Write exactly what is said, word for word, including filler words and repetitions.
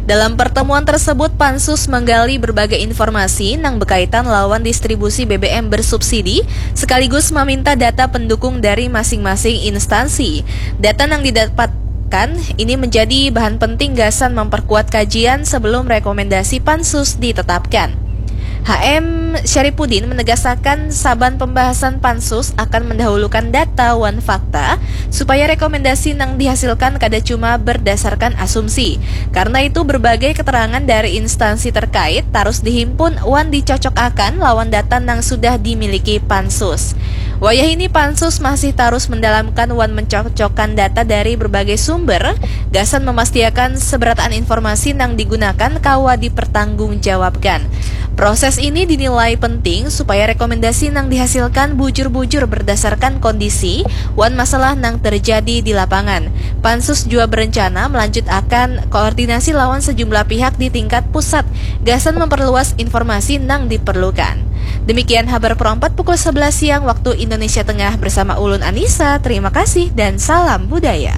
Dalam pertemuan tersebut, Pansus menggali berbagai informasi nang berkaitan lawan distribusi B B M bersubsidi, sekaligus meminta data pendukung dari masing-masing instansi. Data nang didapatkan ini menjadi bahan penting gasan memperkuat kajian sebelum rekomendasi Pansus ditetapkan. H M Syaripudin menegasakan saban pembahasan Pansus akan mendahulukan data wan fakta supaya rekomendasi nang dihasilkan kada cuma berdasarkan asumsi. Karena itu, berbagai keterangan dari instansi terkait tarus dihimpun wan dicocokakan lawan data nang sudah dimiliki Pansus. Wayah ini, Pansus masih tarus mendalamkan wan mencocokkan data dari berbagai sumber gasan memastiakan seberataan informasi nang digunakan kawa dipertanggungjawabkan. Proses ini dinilai penting supaya rekomendasi nang dihasilkan bujur-bujur berdasarkan kondisi wan masalah nang terjadi di lapangan. Pansus jua berencana melanjutakan koordinasi lawan sejumlah pihak di tingkat pusat gasan memperluas informasi nang diperlukan. Demikian Habar Pro empat pukul sebelas siang waktu Indonesia Tengah bersama ulun Anissa. Terima kasih dan salam budaya.